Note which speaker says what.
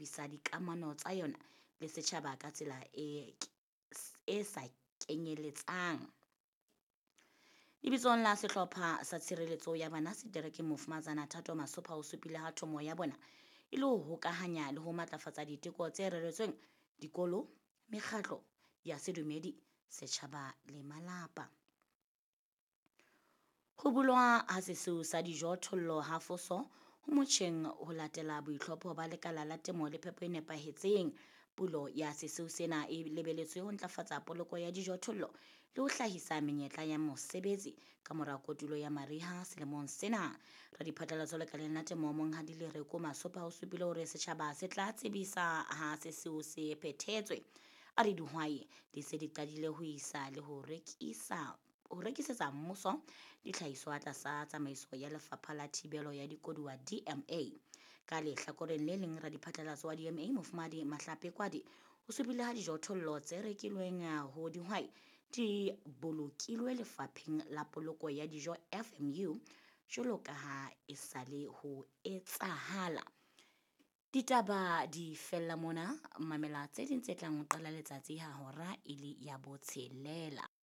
Speaker 1: tebisa dikamano tsa yona le setjhaba ka tsela e e sa kenyeletsang. Lebitsong la sehlopha sa tshireletso ya bana seterekeng Mofumahatsana Thato Masopha o supile ha thomo ya bona e le ho hokahanya le ho matlafatsa diteko tse reretsweng dikolo, mekgatlo ya sedumedi, setjhaba le malapa. Ho bulwa ha sesiu sa dijothollo ha Foso ho motjheng ho latela boitlhopho ba lekala la temo le phepo e nepahetseng. Pulo ya sesiu sena e lebeletswe ho ntlafatsa poloko ya dijothollo le ho hlahisa menyetla ya mosebetsi ka mora kotulo ya mariha selemong sena. Radiphatlalatso lekaleng la temo Monghadi Lereko Masopha o supile hore setjhaba se tla tsebisa ha sesiu se phethetswe. A re dihwai di se di qadile ho isa le ho rekisa ho rekisetsa mmuso dihlahiswa tlasa tsamaiso ya Lefapha la Thibelo ya Dikoduwa DMA. Ka lehlakoreng le leng radiphatlalatso wa DMA Mofumahadi Mahlape Kwadi o supile ha dijothollo tse rekilweng ho dihwai di bolokilwe lefapheng la poloko ya dijo FMU jwalo ka ha e sale ho etsahala. Ditaba di fella mona, mamela tse ding tse tlang ho qala letsatsi ha hora e le ya botshelela.